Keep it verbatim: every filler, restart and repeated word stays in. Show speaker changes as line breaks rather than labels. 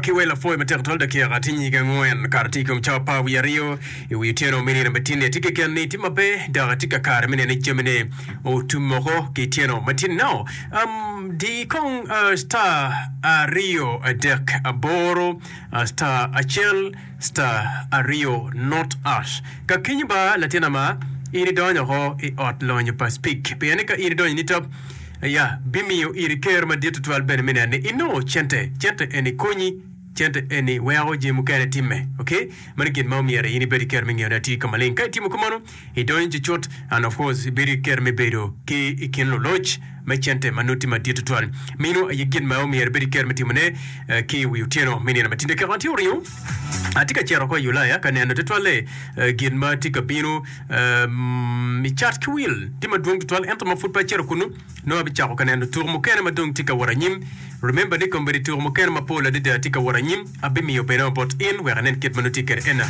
Ki wel apwoyo matek twal dakika tye nyige angwen kare tye i kom cawa apar wiye aryo i wi otyeno me nino matin-ni. Atye keken ni tye maber dok atye ka kare me neno ni jamine otum woko ki tyeno matin. Now, um, di kong uh, star aryo adek aboro uh, star acel star aryo not ash. Ka kenyo ba latin ama in idonyo oko i ot lonyo pa Speke. Pien ni ka in idonyo ni top ya bimiyo iri ker madit tutwal bene me neno ni inongo cente cente eni konyi cente eni weko jami mukene timme okay mano gin ma omyero in ibed ki ker me ngeyone atir ka maleng ka itimo kumano idonyo cucut and of course ibedo ki ker me bedo ki i kin luloc me cente ma nongo tye madit tutwal mino aye gin ma omyero ibed ki ker me timone eh, ki i wi otyeno me nino matinde keko tye oringo atye ka cito ko i Ulaya ka neno tutwalle eh, gin ma tye ka bino um, i cat ki wil tye madwong tutwal ento ma pud pe acito kunu nongo abicako ka neno tuko mukene ma dong tye ka wot anyim remember ni kombeddi tuko mukene mapol adada tye ka wot anyim abimiyo bene bot in wek anen kit ma nongo tye kwede ena.